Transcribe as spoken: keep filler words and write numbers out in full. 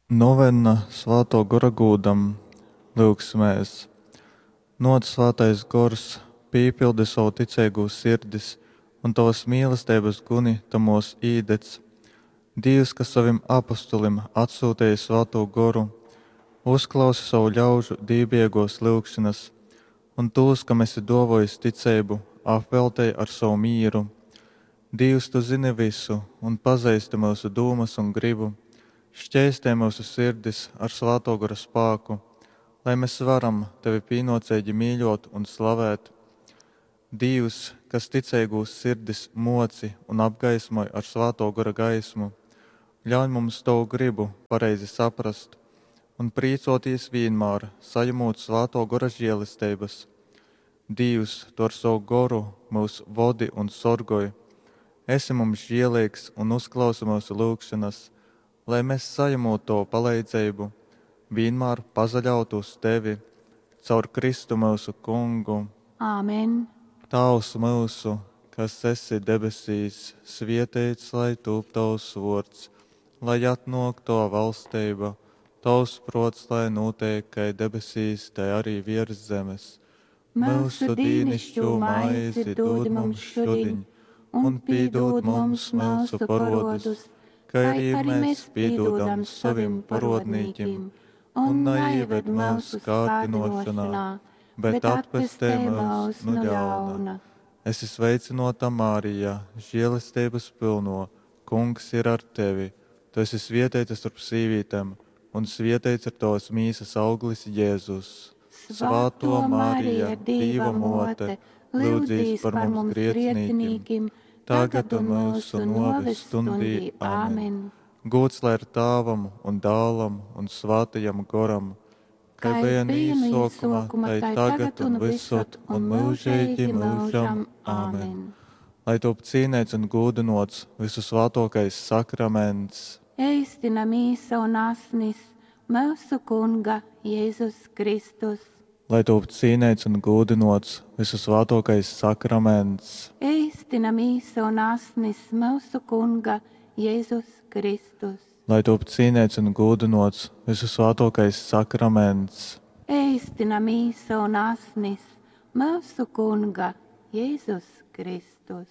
Novenna Svātō Gora gūdam. Lyugsimēs. Nōc, Svātais Gors, pīpildi sovu ticeigū sirdis un tovas mīlesteibas guni tamōs īdedz. Dīvs, kas sovim apostolim atsyuteji Svātū Goru, uzklausi sovu ļaužu dīvbijeigōs lyugšonas un tūs, kam esi dōvōjis ticeibu, apveltej ar sovu mīru. Dīvs, tu zyni vysu un pazeisti myusu dūmas un grybu, škeistej myusu sirdis ar Svātō Gora spāku, lai mes varam tevi pīnōceigi mīļōt un slavēt. Dīvs, kas ticeigūs sirdis mōci un apgaismoj ar Svātō Gora gaismu, ļauņ mums tovu grybu pareizi saprast un prīcōtīs vīnmār, sajamūt Svātō Gora želesteibas. Dīvs, tu ar sovu Goru myus vodi un sorgoj, esi mums žēleigs un uzklausi myusu lyugšonas, lai mes, sajamūt tovu paleidzeibu, vīnmār pasaļautu uz tevi. Caur Kristu myusu Kungu. Amen. Tāvs myusu, kas esi debesīs, svieteits lai tūp tovs vuords, lai atnuok tova valsteiba, tovs pruots lai nūteik kai debesīs, tai ari viers zemes. Myusu dīnišķū maizi dūd mums šudiņ, un pīdūd mums myusu porodus, kai arī mēs pīdūdam sovim porodnīkim, un naieved myusu kārdinošanā, bet atpestej myus nu ļauna. Esi sveicynōta, Marija, žēlesteibas pylnō, Kungs ir ar tevi. Tu esi svieteita storp sīvītem, un svieteits ir tovas mīsas auglis Jēzus. Svātō Marija, Dīva mōte, lyudzīs par mums grēcinīkim, tagad un myusu nōves stundī. Amen. Gūds lai ir Tāvam un Dālam un Svātajam Goram, kai Kai bija bija no no īsākuma, īsākuma, tai tai tagad un visod un mūžīgi mūžam. Āmen. Amen. Lai top cīnīts un gūdinots visusvētākais sakraments. Eistina mīsa un asnis myusu Kunga Jezus Kristus. Lai top cīnīts un gūdinots visusvētākais sakraments. Eistina mīsa un asnis myusu Kunga Jezus Kristus. Lai top cīnīts un gūdinots visusvētākais sakraments. Eistina mīsa un asnis myusu Kunga Jezus Kristus.